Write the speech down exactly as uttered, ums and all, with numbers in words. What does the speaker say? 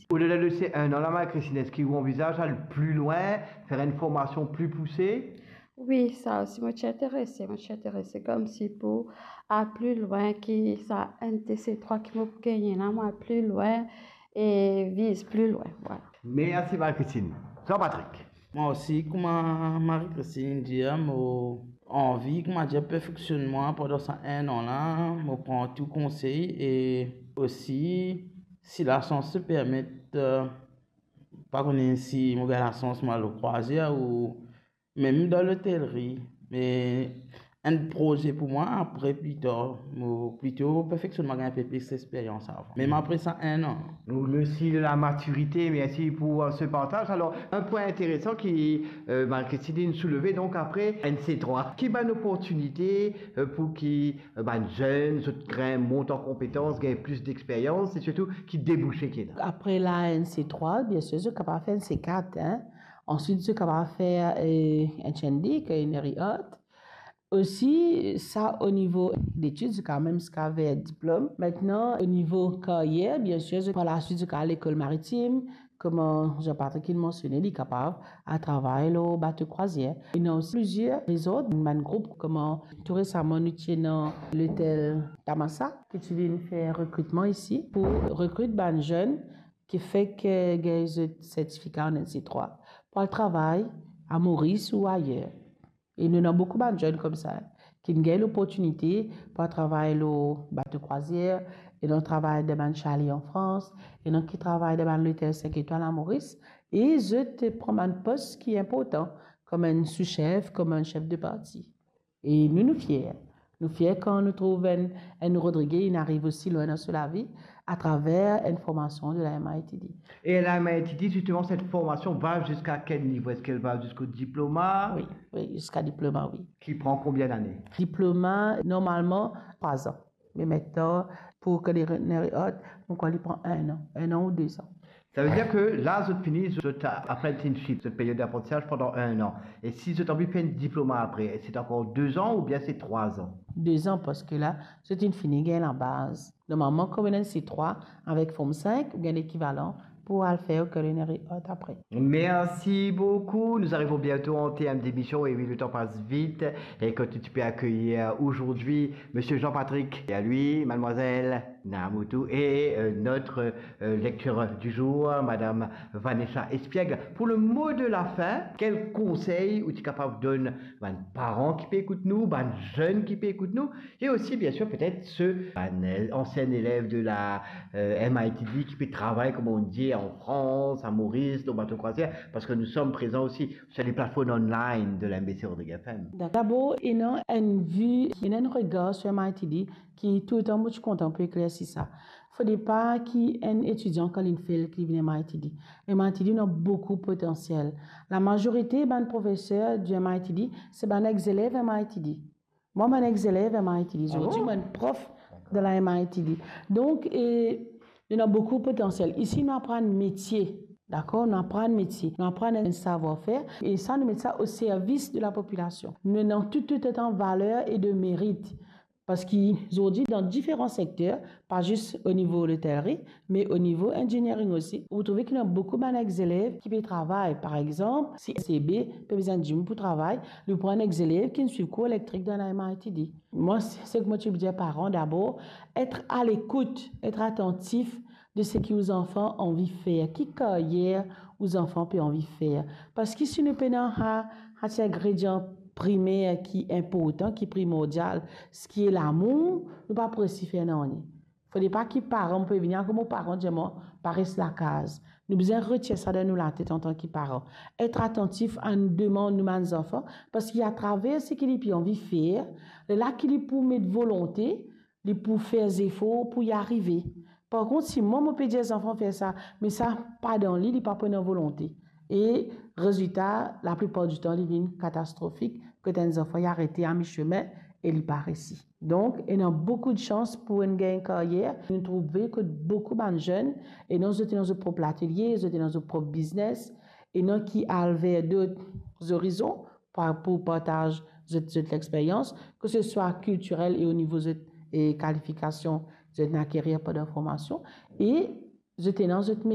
Odela de se enn an la, Marie-Christine, eski ou anvizaz al pli lwin, fer enn formasion pli pouse? Wi, sa osi, mo ti interese, mo ti interese koumsi pou al pli lwin ki sa enn de se trwa ki mo pou gagne la, mo al pli lwin e viz pli lwin, vwala. Mersi, Marie-Christine. Jean-Patrick. Mwa osi, kouma Marie-Christine dir, mo anvi, kouma dir, perfeksionn mwa pandan sa enn an la, mo pran tou konsey e osi, si lasans permet, eh, pa kone si mo gagn lasans mo al krwazier ou mem dan lotelri, me enn proze pou mwa apre, pli tar, mo plito perfeksionn mwa, gagn inpe plis lexperyans avan. Mem apre sa enn an. Ou le signe de la maturité, merci pour, euh, ce partage. Alors, un point intéressant qui, euh, Marie-Christine soulevé, donc après N C trois, ki bann oportinite, euh, pou ki, euh, bann zenn, zot grin mont an konpetans, gagn plis lexperyans, e sirtou ki debouse ki ena? Apre la N C trois, bien sûr, zot kapav fer N C quatre, hein. Answit, zot kapav fer, euh, H N D, culinary art. Osi, sa o nivo detid, zot kapav mem ziska ver diplom. Aster, o nivo karyer, bien sûr, zot par la suite, zot kapav al lekol maritim, kouma Jean-Patrick inn mansione, li kapav al travay lor bato krwazier. Ena osi plizier rezor, bann group, kouma tou resaman nou ti ena lotel Tamasa, ki ti vinn fer rekritman isi pou rekrit bann zenn ki fek, eh, gagn zot sertifika an N C trois, pou al travay a Moris ou ayer. E nou ena boukou bann zenn koumsa, ki inn gagn loportinite pou al travay lor bato krwazier, ena travay dan bann sale an Frans, ena ki travay dan bann lotel sink etwal a Moris, e zot pran bann pos ki inportan, kouma enn sousef, kouma enn sef de parti. E nou, nou fier. Nou fier kan nou trouv enn, enn Rodrige inn ariv osi lwin dan so lavi atraver enn formasion de la M I T D. Et la M I T D, justement, cette formation va jusqu'à quel niveau? Est-ce qu'elle va jusqu'au diplôme? Wi, wi, ziska diploma, wi. Qui prend combien d'années? Diploma, normalman, trwa zan. Me aster, pou culinary art, mo krwar li pran enn an, enn an ou de zan. Savedir ke la, zot fini zot apprenticeship, zot period d'apprentissage pandan enn an. E si zot anvi fer enn diploma apre, se ankor de zan oubien se trwa zan? De zan, parski la, zot inn fini gagn labaz. Normalman, kouma ena N C trois, avek Form cinq, ou gagn lekivalan pou al fer culinary art apre. Merci beaucoup. Nous arrivons bientôt en terme d'émission. Et oui, le temps passe vite. Et quand tu peux accueillir aujourd'hui Monsieur Jean-Patrick et à lui, Mademoiselle Naamoutou et, euh, notre, euh, lecture du jour, Madame Vanessa Espiègle. Pour le mot de la fin, quel conseil ou ti kapav donn bann paran ki pe ekout nou, bann zenn ki pe ekout nou, et aussi, bien sûr, peut-être ceux, bann, euh, ancien élève de la, euh, M I T D ki pe travay, comme on dit, en France, à Maurice, dans bato krwazier, parce que nous sommes présents aussi sur les plateformes online de la M B C Rodrigues F M. Dabor, ena enn vi, ena enn regar sur M I T D ki toultan mo ti kontan pou eklersi sa. Fode pa ki enn etidian, kan li finn fer, ki li vinn M I T D. M I T D ena boukou potansiel. Lamazorite bann profeser di M I T D, se bann ex-elev M I T D. Mwa, mo enn ex-elev M I T D. Ah bon? Zordi, mo enn prof de la M I T D. Donk, e, nou ena boukou potansiel. Isi, nou aprann metie, dakor? Nou aprann metie, nou aprann enn savwar-fer, e sa, nou met sa o servis de la popilasion. Nou ena tou, tou otan valer e de merit. Parski zordi, dan diferan sekter, pa zis o nivo lotelri, me o nivo engineering osi, ou trouve ki ena boukou bann ex-elev ki pe travay. Par exanp, si C B pe bizin dimoun pou travay, li pran enn ex-elev ki finn swiv kour elektrik dan la M I T D. Mwa, se, seki mo ti pou dir paran, dabor, et a lekout, et atantif de seki ou zanfan anvi fer, ki karyer ou zanfan pe anvi fer. Parski si nou pena sa, sa ti ingredian primer ki inportan, ki primordial, seki lamour, nou pa pou resi fer nanye. Fode pa ki paran pe vini, kouma paran dir mwa, pa res lakaz. Nou bizin retir sa dan nou latet antan ki paran. Et atantif a nou demann nou bann zanfan, parski atraver seki li pe anvi fer, lerla ki li pou met volonte, li pou fer zefor pou li arive. Par kont, si mwa, mo pe dir zanfan fer sa, me sa pa dan li, li pa pou ena volonte. E rezilta, laplipar ditan, li vinn katastrofik, kot enn zanfan, li arete a mi-semin e li pa resi. Donk, ena boukou de sans pou enn gagn karyer. Nou trouve kot boukou bann zenn, ena zot ena zot prop latelie, zot ena zot prop biznes, ena ki al ver dot zorizon, pa-, pou partaz zot, zot lexperyans, ke se swa kiltirel e o nivo zot, e, kalifikasion zot inn akerir pandan formasion, e zot ena zot